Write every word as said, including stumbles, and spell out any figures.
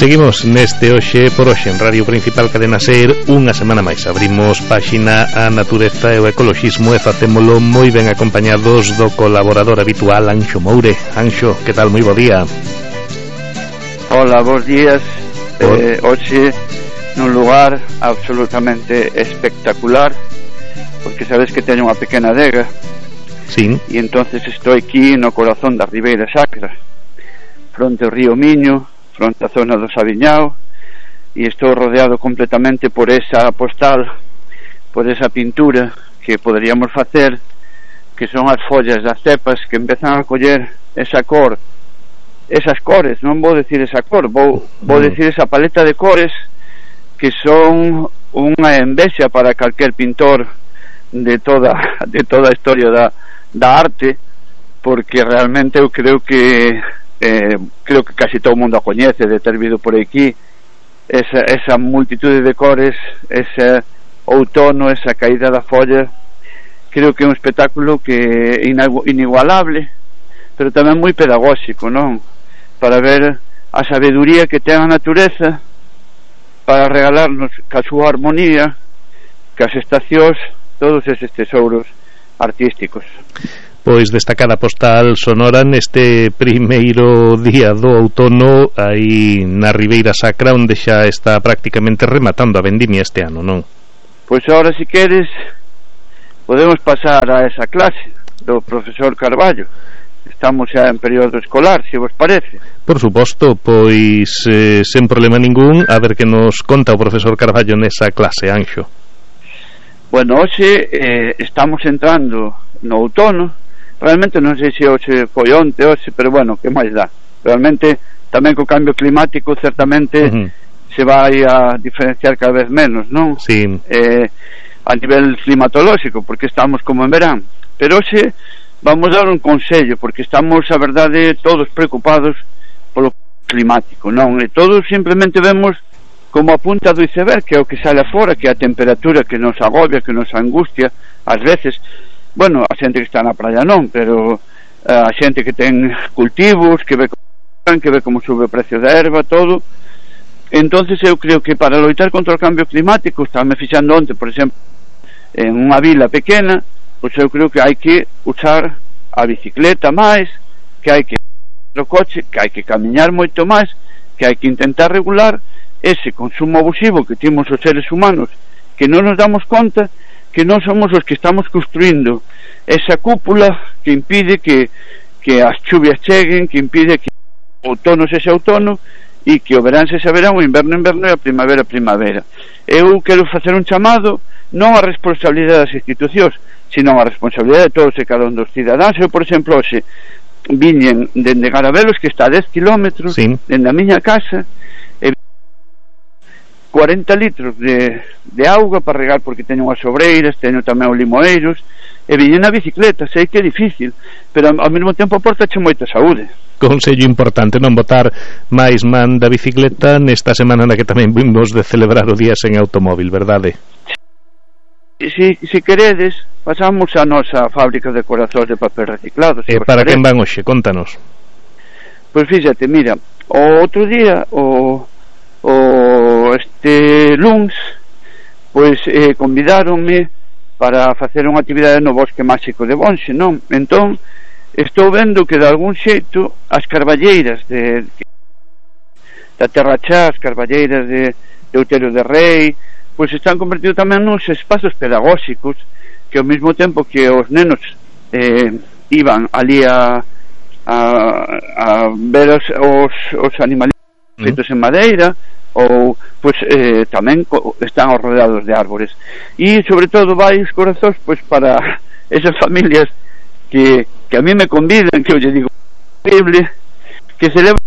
Seguimos neste Hoxe por Hoxe en Radio Principal Cadena Ser. Unha semana máis abrimos páxina a natureza e o ecoloxismo e facémolo moi ben acompañados do colaborador habitual Anxo Moure. Anxo, que tal? Moi bo día. Hola, bons días. eh, Hoxe nun lugar absolutamente espectacular, porque sabes que teño unha pequena adega. Sí. E entonces estou aquí no corazón da Ribeira Sacra, fronte ao río Miño, fronte á zona do Sabiñao, e estou rodeado completamente por esa postal, por esa pintura que poderíamos facer, que son as follas das cepas que empezan a coller esa cor, esas cores, non vou decir esa cor, vou, vou decir esa paleta de cores que son unha envexa para calquer pintor de toda de toda a historia da, da arte, porque realmente eu creo que Eh, creo que casi todo o mundo a coñece de ter vido por aquí esa, esa multitude de cores, ese outono, esa caída da folla. Creo que é un espectáculo que é inigualable, pero tamén moi pedagóxico, non? Para ver a sabeduría que ten a natureza para regalarnos ca súa armonía, cas estacións, todos eses tesouros artísticos. Pois destacada postal sonora neste primeiro día do outono aí na Ribeira Sacra, onde xa está prácticamente rematando a vendimia este ano, non? Pois agora, se queres, podemos pasar a esa clase do profesor Carballo. Estamos xa en período escolar, se vos parece. Por suposto, pois eh, sen problema ningún, a ver que nos conta o profesor Carballo nesa clase, Anxo. Bueno, hoxe eh, estamos entrando no outono. Realmente non sei se hoxe foi onte, hoxe, pero bueno, que máis dá. Realmente tamén co cambio climático certamente uh-huh. se vai a diferenciar cada vez menos, non? Sí. Eh, a nivel climatolóxico, porque estamos como en verán. Pero hoxe vamos dar un consello, porque estamos, a verdade, todos preocupados polo climático, non? E todos simplemente vemos como a punta do iceberg, que é o que sale afora, que é a temperatura que nos agobia, que nos angustia, ás veces. Bueno, a xente que está na praia non, pero a xente que ten cultivos, que ve como, que ve como sube o precio da erva, todo. Entonces eu creo que para loitar contra o cambio climático, estaba me fixando onte, por exemplo, en unha vila pequena, pois eu creo que hai que usar a bicicleta máis, que hai que o coche, que hai que camiñar moito máis, que hai que intentar regular ese consumo abusivo que temos os seres humanos, que non nos damos conta que non somos os que estamos construindo esa cúpula que impide que, que as chuvias cheguen, que impide que o outono sexa outono e que o verán sexa verán, o inverno inverno e a primavera primavera. Eu quero facer un chamado non a responsabilidade das institucións, sino a responsabilidade de todos e cada un dos cidadáns. Eu, por exemplo, hoxe viñen dende Garabelos, que está a dez kilómetros, sí, dende a miña casa, e cuarenta litros de, de auga para regar, porque teño unhas sobreiras, teño tamén os limoeiros, e viñen na bicicleta. Sei que é difícil, pero ao mesmo tempo aportache moita saúde. Consello importante, non botar máis man da bicicleta nesta semana na que tamén vimos de celebrar o día sen automóvil, verdade? Si, si queredes, pasamos a nosa fábrica de corazóns de papel reciclado. E para quen van hoxe? Contanos. Pois fíxate, mira, o outro día, o o este luns, pois eh, convidáronme para facer unha actividade no Bosque Máxico de Bonxe, non? Entón, estou vendo que de algún xeito as carballeiras de, da Terra Chá, as carballeiras de, de Outeiro de Rei, pois están convertidos tamén nos espazos pedagóxicos, que ao mesmo tempo que os nenos eh, iban ali a, a, a ver os, os, os animalitos feitos en madeira, ou pois eh, tamén están rodeados de árbores, e sobre todo vai os corazóns pois para esas familias que, que a mí me convidan, que eu lle digo increíble, que celebran